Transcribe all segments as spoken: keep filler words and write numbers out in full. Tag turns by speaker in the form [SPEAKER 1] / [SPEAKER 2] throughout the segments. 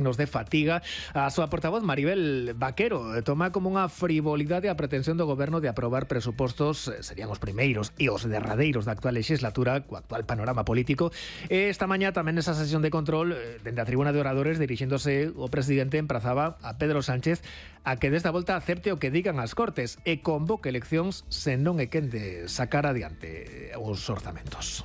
[SPEAKER 1] nos de fatiga. A súa portavoz Maribel Vaquero toma como unha frivolidade a pretensión do goberno de aprobar presupostos, serían os primeiros e os derradeiros da actual legislatura, co actual panorama político. E esta mañá tamén nesa sesión de control, dende a tribuna de oradores, dirixéndose o presidente, emprazaba a Pedro Sánchez a que desta volta acepte o que digan as Cortes e convoque eleccións se non é quen de sacar adiante os orzamentos.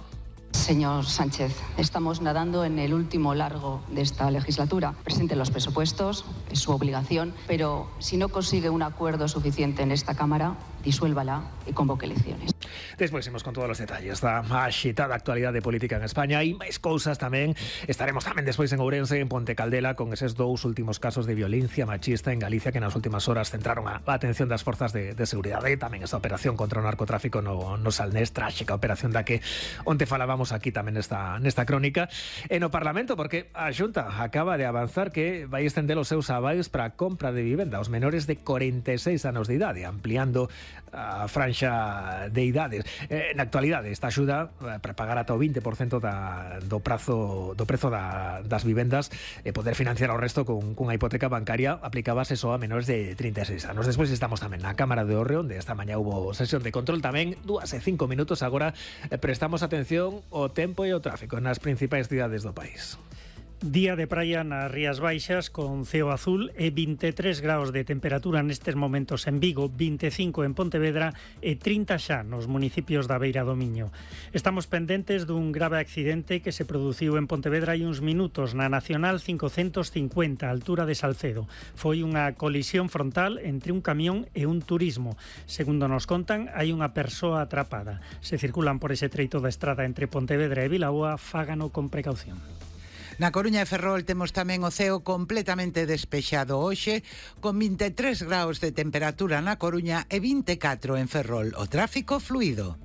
[SPEAKER 2] Señor Sánchez, estamos nadando en el último largo de esta legislatura. Presente los presupuestos, es su obligación, pero si no consigue un acuerdo suficiente en esta Cámara, disuélvala y convoque elecciones.
[SPEAKER 1] Despois imos con todos os detalles da axitada actualidade política en España e máis cousas tamén. Estaremos tamén despois en Ourense, en Ponte Caldela, con eses dous últimos casos de violencia machista en Galicia que nas últimas horas centraron a atención das forzas de, de seguridade. E tamén esa operación contra o narcotráfico no, no Salnés, tráxica operación da que onte falábamos aquí tamén nesta, nesta crónica. E no Parlamento, porque a Xunta acaba de avanzar que vai estender os seus avais para a compra de vivenda aos menores de corenta e seis anos de idade, ampliando a franxa de idades. Eh, na actualidade, esta axuda para pagar ata o vinte por cento da, do prazo do prezo da, das vivendas e poder financiar o resto con cunha hipoteca bancaria aplicábase só a menores de trinta e seis anos. Despois estamos tamén na Cámara de Orre, onde esta mañá hubo sesión de control tamén, dúas e cinco minutos agora. Eh, prestamos atención ao tempo e ao tráfico nas principais cidades do país.
[SPEAKER 3] Día de praia nas Rías Baixas con ceo azul e vinte e tres graus de temperatura nestes momentos en Vigo, vinte e cinco en Pontevedra e trinta xa nos municipios da Beira do Miño. Estamos pendentes dun grave accidente que se produciu en Pontevedra hai uns minutos na Nacional cincocentos cincuenta, a altura de Salcedo. Foi unha colisión frontal entre un camión e un turismo. Segundo nos contan, hai unha persoa atrapada. Se circulan por ese treito da estrada entre Pontevedra e Vilaboa, fágano con precaución.
[SPEAKER 4] Na Coruña e Ferrol temos tamén o ceo completamente despexado hoxe, con vinte e tres graus de temperatura na Coruña e vinte e catro en Ferrol. O tráfico fluido.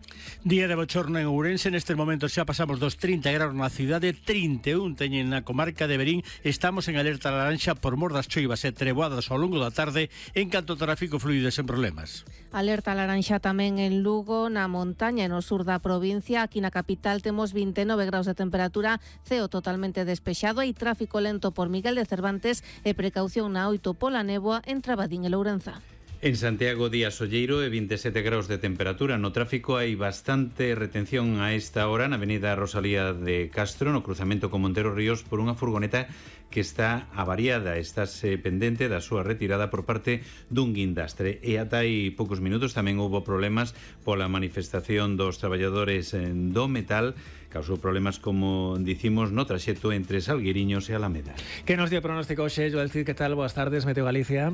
[SPEAKER 5] Día de bochorno en Ourense, nestes momentos xa pasamos dos trinta graus na cidade, trinta e un teñen na comarca de Verín. Estamos en alerta laranxa por mor das choivas e treboadas ao longo da tarde, en canto ao tráfico fluido sen problemas.
[SPEAKER 6] Alerta laranxa tamén en Lugo, na montaña e no sur da provincia. Aquí na capital temos vinte e nove graus de temperatura, ceo totalmente despexado e tráfico lento por Miguel de Cervantes e precaución na oito pola néboa en Trabadín e Lourenza.
[SPEAKER 7] En Santiago, día solleiro e vinte e sete graus de temperatura. No tráfico hai bastante retención a esta hora na avenida Rosalía de Castro, no cruzamento con Montero Ríos, por unha furgoneta que está avariada. Estase pendente da súa retirada por parte dun guindastre. E ata hai poucos minutos tamén houbo problemas pola manifestación dos traballadores do metal. Causou problemas, como dicimos, no traxecto entre Salgueiriños e Alameda.
[SPEAKER 1] Que nos dio pronóstico hoxe, Joel Cid? Que tal? Boas tardes, Meteo Galicia.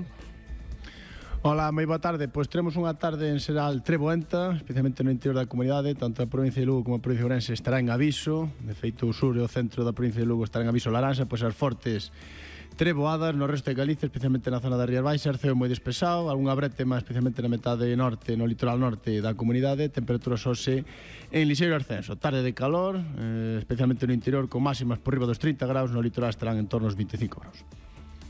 [SPEAKER 8] Hola, moi boa tarde. Pois teremos unha tarde en xeral treboenta, especialmente no interior da comunidade. Tanto a provincia de Lugo como a provincia de Ourense estará en aviso. De feito, o sur e o centro da provincia de Lugo estará en aviso laranxa, pois as fortes treboadas. No resto de Galicia, especialmente na zona das Rías Baixas, ceo moi despexado, algunha brétema, especialmente na metade norte, no litoral norte da comunidade. Temperaturas hoxe en lixeiro ascenso. Tarde de calor, eh, especialmente no interior, con máximas por riba dos trinta graus. No litoral estarán en torno aos vinte e cinco graus.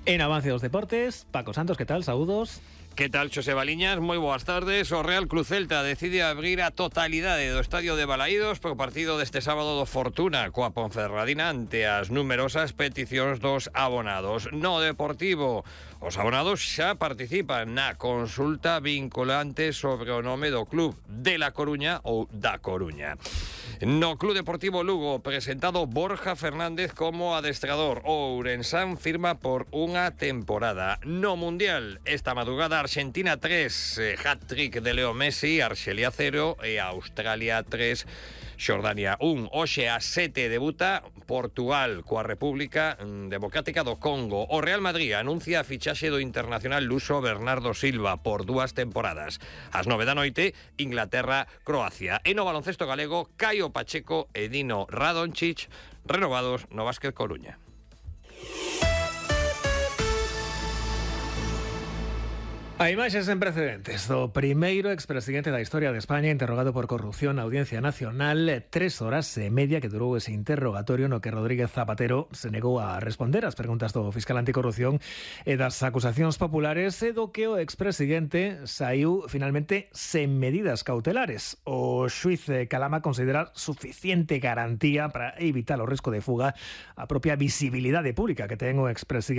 [SPEAKER 1] En avance dos deportes, Paco Santos, que tal? Saúdos.
[SPEAKER 9] Que tal, Xosé Baliñas? Moi boas tardes. O Real Cruz Celta decide abrir a totalidade do estadio de Balaídos pro partido deste sábado do Fortuna coa Ponferradina ante as numerosas peticións dos abonados. No Deportivo, os abonados xa participan na consulta vinculante sobre o nome do club de La Coruña ou da Coruña. No Club Deportivo Lugo, presentado Borja Fernández como adestrador. O Ourensán firma por unha temporada. No Mundial, esta madrugada Argentina tres, eh, hat-trick de Leo Messi, Arxelia cero e Australia tres, Xordania un. Hoxe a sete debuta Portugal coa República Democrática do Congo. O Real Madrid anuncia a fichaxe do internacional luso Bernardo Silva por dúas temporadas. Ás nove da noite, Inglaterra-Croacia. E no baloncesto galego, Caio Pacheco e Dino Radončić renovados no Básquet Coruña.
[SPEAKER 1] A imaxes sen precedentes do primeiro expresidente da historia de España interrogado por corrupción na Audiencia Nacional. Tres horas e media que durou ese interrogatorio no que Rodríguez Zapatero se negou a responder ás preguntas do fiscal anticorrupción e das acusacións populares, e do que o expresidente saiu finalmente sen medidas cautelares. O xuíz Calama considera suficiente garantía para evitar o risco de fuga a propia visibilidade pública que ten o expresidente